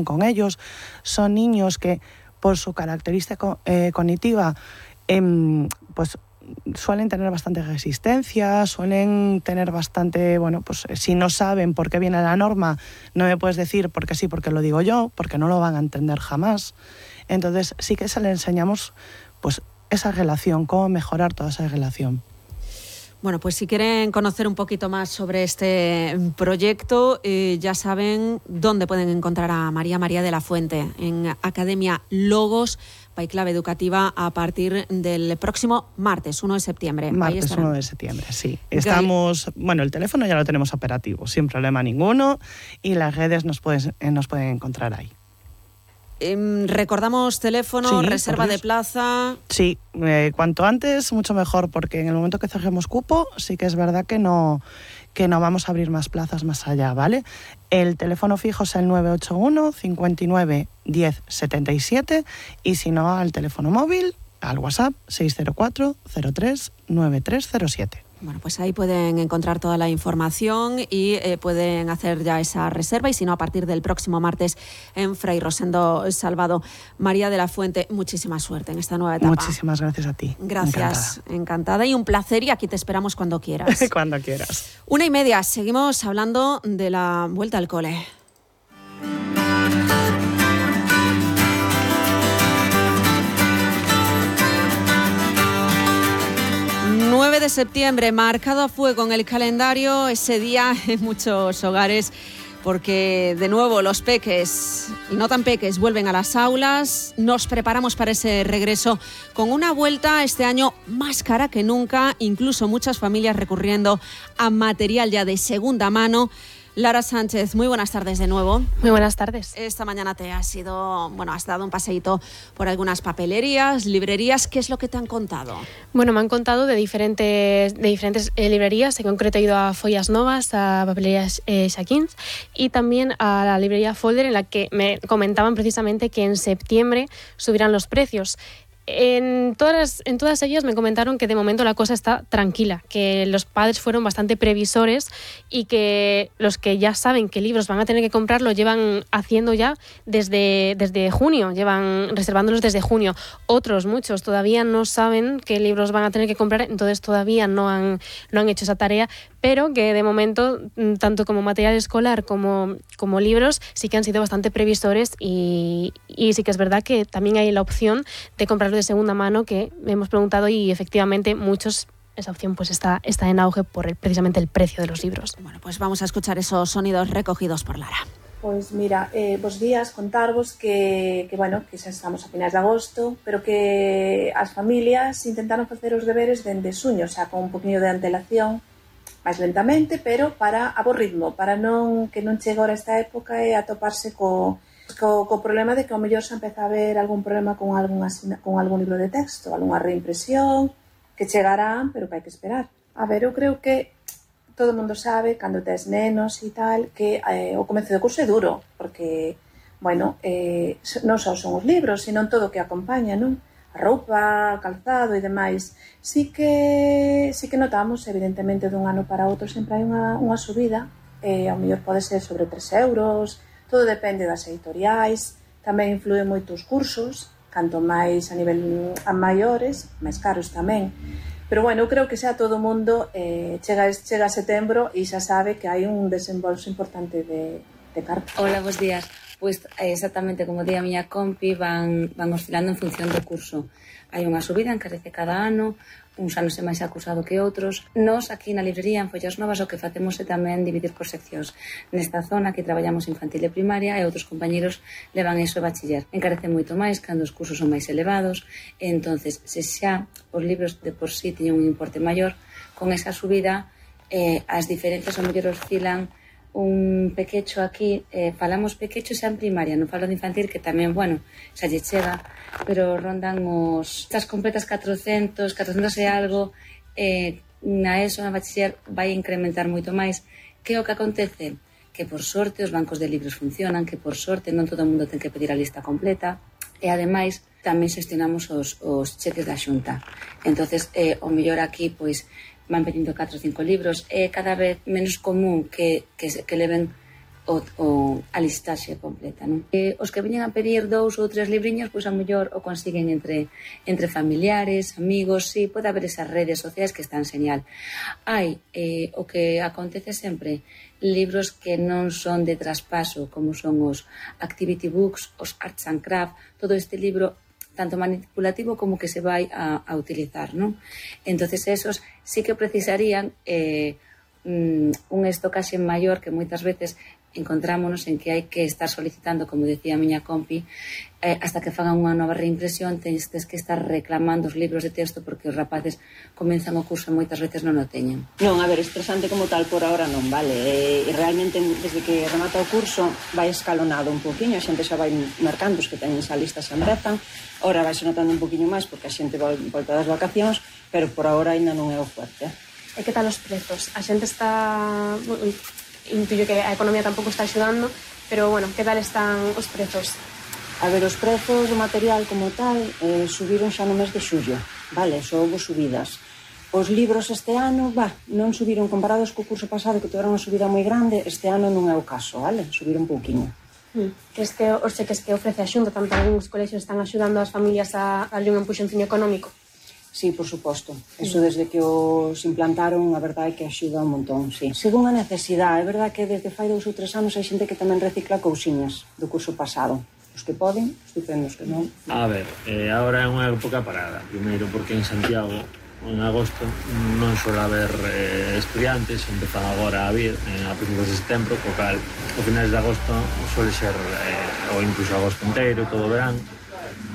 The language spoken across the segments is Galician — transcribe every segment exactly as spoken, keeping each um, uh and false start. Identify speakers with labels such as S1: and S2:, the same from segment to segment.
S1: con ellos. Son niños que, por su característica eh, cognitiva, eh, pues suelen tener bastante resistencia, suelen tener bastante, bueno, pues si no saben por qué viene la norma, no me puedes decir porque sí, porque lo digo yo, porque no lo van a entender jamás. Entonces sí que se les enseñamos pues esa relación, cómo mejorar toda esa relación.
S2: Bueno, pues si quieren conocer un poquito más sobre este proyecto, eh, ya saben dónde pueden encontrar a María María de la Fuente, en Academia Logos, Baiclave Educativa, a partir del próximo martes, uno de septiembre.
S1: Martes uno de septiembre, sí. Estamos, bueno, el teléfono ya lo tenemos operativo, sin problema ninguno, y las redes nos, pueden, nos pueden encontrar ahí.
S2: Eh, recordamos teléfono,
S1: sí,
S2: reserva de plaza.
S1: Sí, eh, cuanto antes mucho mejor, porque en el momento que cerremos cupo sí que es verdad que no, que no vamos a abrir más plazas más allá, ¿vale? El teléfono fijo es el nueve ocho uno, cincuenta y nueve, diez, setenta y siete, y si no al teléfono móvil, al WhatsApp seis cero cuatro, cero tres, nueve tres cero siete.
S2: Bueno, pues ahí pueden encontrar toda la información y eh, pueden hacer ya esa reserva, y si no, a partir del próximo martes en Fray Rosendo Salvado. María de la Fuente, muchísima suerte en esta nueva etapa.
S1: Muchísimas gracias a ti.
S2: Gracias, encantada, encantada y un placer, y aquí te esperamos cuando quieras.
S1: Cuando quieras.
S2: Una y media, seguimos hablando de la vuelta al cole. nueve de septiembre, marcado a fuego en el calendario, ese día en muchos hogares, porque de nuevo los peques y no tan peques vuelven a las aulas. Nos preparamos para ese regreso con una vuelta este año más cara que nunca, incluso muchas familias recurriendo a material ya de segunda mano. Lara Sánchez, muy buenas tardes de nuevo.
S3: Muy buenas tardes.
S2: Esta mañana te has ido, bueno, has dado un paseíto por algunas papelerías, librerías. ¿Qué es lo que te han contado?
S3: Bueno, me han contado de diferentes, de diferentes eh, librerías. En concreto he ido a Follas Novas, a papelerías eh, Shaquins, y también a la librería Folder, en la que me comentaban precisamente que en septiembre subirán los precios. En todas, en todas ellas me comentaron que de momento la cosa está tranquila, que los padres fueron bastante previsores y que los que ya saben qué libros van a tener que comprar lo llevan haciendo ya desde, desde junio, llevan reservándolos desde junio. Otros, muchos, todavía no saben qué libros van a tener que comprar, entonces todavía no han, no han hecho esa tarea, pero que de momento, tanto como material escolar como, como libros, sí que han sido bastante previsores, y, y sí que es verdad que también hay la opción de comprarlo de segunda mano, que hemos preguntado, y efectivamente muchos, esa opción pues está, está en auge por el, precisamente el precio de los libros.
S2: Bueno, pues vamos a escuchar esos sonidos recogidos por Lara.
S4: Pois mira, eh, vos días contarvos que, que, bueno, que xa estamos a finais de agosto, pero que as familias intentaron facer os deberes dende xuño, xa con un poquinho de antelación, máis lentamente, pero para a bo ritmo, para non que non chegue ahora esta época e atoparse co, co, co problema de que ao mellor xa empeza a haber algún problema con algún, con algún libro de texto, algunha reimpresión, que chegarán, pero que hai que esperar. A ver, eu creo que todo o mundo sabe, cando tes nenos e tal, que eh, o comezo do curso é duro, porque, bueno, eh, non só son os libros, sino todo o que acompaña, non? A roupa, calzado e demais. Sí que, sí que notamos, evidentemente, dun ano para outro sempre hai unha, unha subida, eh, ao mellor pode ser sobre tres euros, todo depende das editoriais, tamén influen moito os cursos, canto máis a nivel a maiores, máis caros tamén. Pero, bueno, eu creo que xa todo o mundo eh, chega, chega a setembro e xa sabe que hai un desembolso importante de, de cartas.
S5: Hola, bons días. Pois exactamente como di a miña compi, van, van oscilando en función do curso. Hai unha subida, encarece cada ano, uns anos é máis acusado que outros. Nós, aquí na librería, en Follas Novas, o que facemos é tamén dividir por seccións. Nesta zona, que traballamos infantil e primaria, e outros compañeros levan eso e bachiller. Encarece moito máis cando os cursos son máis elevados, e entonces, se xa os libros de por sí teñen un importe maior, con esa subida, eh, as diferencias ao mellor oscilan un pequecho aquí, eh, falamos pequecho xa en primaria, non falo de infantil, que tamén, bueno, xa lle chega, pero rondan os estas completas catrocentos, catrocentos e algo, eh, na ESO, na bachiller, vai incrementar moito máis. Que é o que acontece? Que por sorte os bancos de libros funcionan, que por sorte non todo o mundo ten que pedir a lista completa, e ademais tamén xestionamos os, os cheques da Xunta. Entonces, eh, o mellor aquí, pois, van pedindo catro ou cinco libros, é cada vez menos común que, que, que leven o, o a listaxe completa, non? E os que viñan a pedir dous ou tres libriños, pois a mellor o consiguen entre, entre familiares, amigos, sí, pode haber esas redes sociais que están señal. Hai eh, o que acontece sempre, libros que non son de traspaso, como son os activity books, os arts and craft, todo este libro tanto manipulativo como que se vai a, a utilizar, non? Entonces esos sí que precisarían eh, un estocaxe maior, que moitas veces encontrámonos en que hai que estar solicitando, como decía a miña compi, eh, hasta que fagan unha nova reimpresión, tens que estar reclamando os libros de texto porque os rapaces comenzan o curso e moitas veces non o teñen.
S6: Non, a ver, estresante como tal por ahora non, vale? E, e realmente desde que remata o curso vai escalonado un poquinho, a xente xa vai marcando, os que teñen esa lista xa empezan, ora vai se notando un poquinho máis porque a xente volta das vacacións, pero por ahora ainda non é o fuerte.
S3: E que tal os prezos? A xente está... Intuyo que a economía tampouco está axudando, pero, bueno, que tal están os prezos?
S6: A ver, os prezos do material como tal eh, subiron xa no mes de xullo, vale? Só houve subidas. Os libros este ano, va, non subiron comparados co curso pasado, que tiveron unha subida moi grande, este ano non é o caso, vale? Subiron un pouquiño.
S3: Hmm. Que es que os cheques que ofrece a Xunta, tanto algúns colexios están axudando as familias a darlle un empuxonciño económico?
S6: Sí, por suposto. Eso desde que os implantaron, a verdade é que axuda un montón, sí. Según a necesidade, é verdade que desde fai dous ou tres anos hai xente que tamén recicla cousiñas do curso pasado. Os que poden, estupendos, que non.
S7: A ver, eh, agora é unha época parada. Primeiro porque en Santiago, en agosto, non suele haber eh, estudiantes, empezan agora a vir eh, a principios de setembro, co cal, o finales de agosto suele ser, eh, ou incluso agosto inteiro, todo o verán,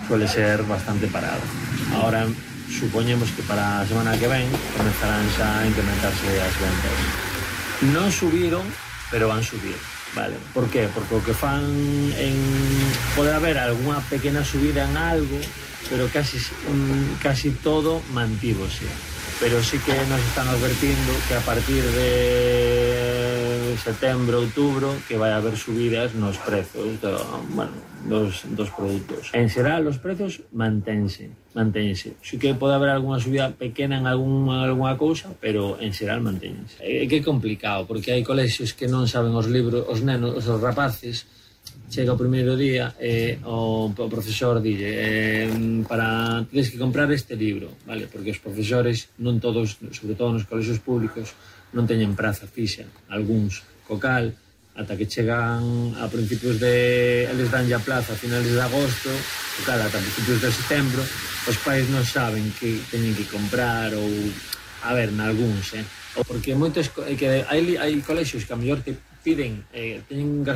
S7: suele ser bastante parado. Agora, supoñemos que para a semana que ven comenzarán xa a incrementarse as ventas. Non subiron, pero van subir, vale? Por qué? Porque o que fan en... pode haber algunha pequena subida en algo, pero casi, um, casi todo mantívose. Pero sí que nos están advertindo que a partir de setembro, outubro, que vai haber subidas nos prezos do, bueno, dos, dos produtos. En xeral, os prezos manténse, manténse. Sí que pode haber algunha subida pequena en algunha, algunha cousa, pero en xeral manténse. É que é complicado, porque hai colexios que non saben os libros, os nenos, os rapaces, chega o primeiro día e eh, o, o profesor dille eh, para tens que comprar este libro, vale? Porque os profesores non todos, sobre todo nos colexios públicos, non teñen praza fixa, algúns co cal ata que chegan a principios de eles dan ya plaza a finales de agosto, co cal ata principios de setembro os pais non saben que teñen que comprar ou a ver, nalgúns, eh? Porque moitos que hai, hai colexios que a mellor te piden, eh, teñen,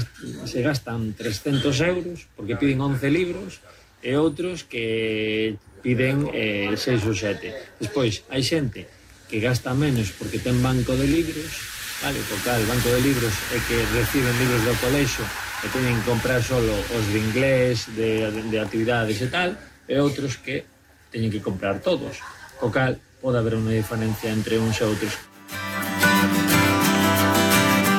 S7: se gastan trescentos euros porque piden once libros e outros que piden eh, seis ou sete. Despois, hai xente que gasta menos porque ten banco de libros, vale, porque o banco de libros é que reciben libros do colexo e teñen que comprar solo os de inglés, de, de, de actividades e tal, e outros que teñen que comprar todos, co cal pode haber unha diferencia entre uns e outros.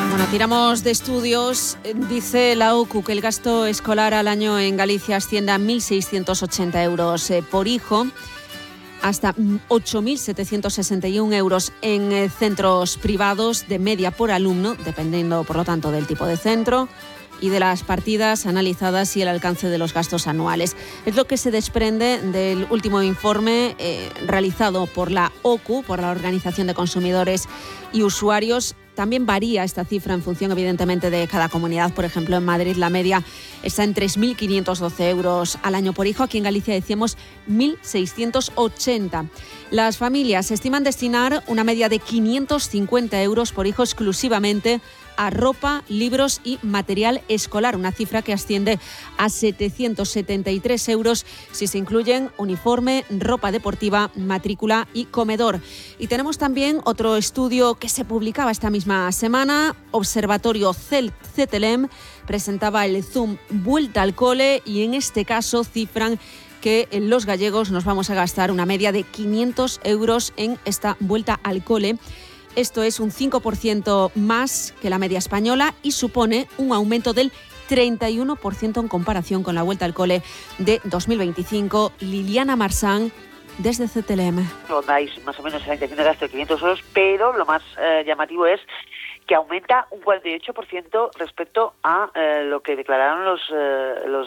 S2: Bueno, tiramos de estudios. Dice la O C U que el gasto escolar al año en Galicia asciende a mil seiscientos ochenta euros eh, por hijo, hasta ocho mil setecientos sesenta y un euros en eh, centros privados de media por alumno, dependiendo, por lo tanto, del tipo de centro y de las partidas analizadas y el alcance de los gastos anuales. Es lo que se desprende del último informe eh, realizado por la O C U, por la Organización de Consumidores y Usuarios. También varía esta cifra en función, evidentemente, de cada comunidad. Por ejemplo, en Madrid la media está en tres mil quinientos doce euros al año por hijo. Aquí en Galicia decíamos mil seiscientos ochenta. Las familias estiman destinar una media de quinientos cincuenta euros por hijo exclusivamente a ropa, libros y material escolar, una cifra que asciende a setecientos setenta y tres euros si se incluyen uniforme, ropa deportiva, matrícula y comedor. Y tenemos también otro estudio que se publicaba esta misma semana. Observatorio C T L E M presentaba el Zoom Vuelta al Cole y en este caso cifran que los gallegos nos vamos a gastar una media de quinientos euros en esta vuelta al cole. Esto es un cinco por ciento más que la media española y supone un aumento del treinta y uno por ciento en comparación con la vuelta al cole de dos mil veinticinco. Liliana Marsán, desde C T L E M.
S8: Rondáis más o menos la intención de gasto de quinientos euros, pero lo más eh, llamativo es que aumenta un cuarenta y ocho por ciento respecto a eh, lo que declararon los, eh, los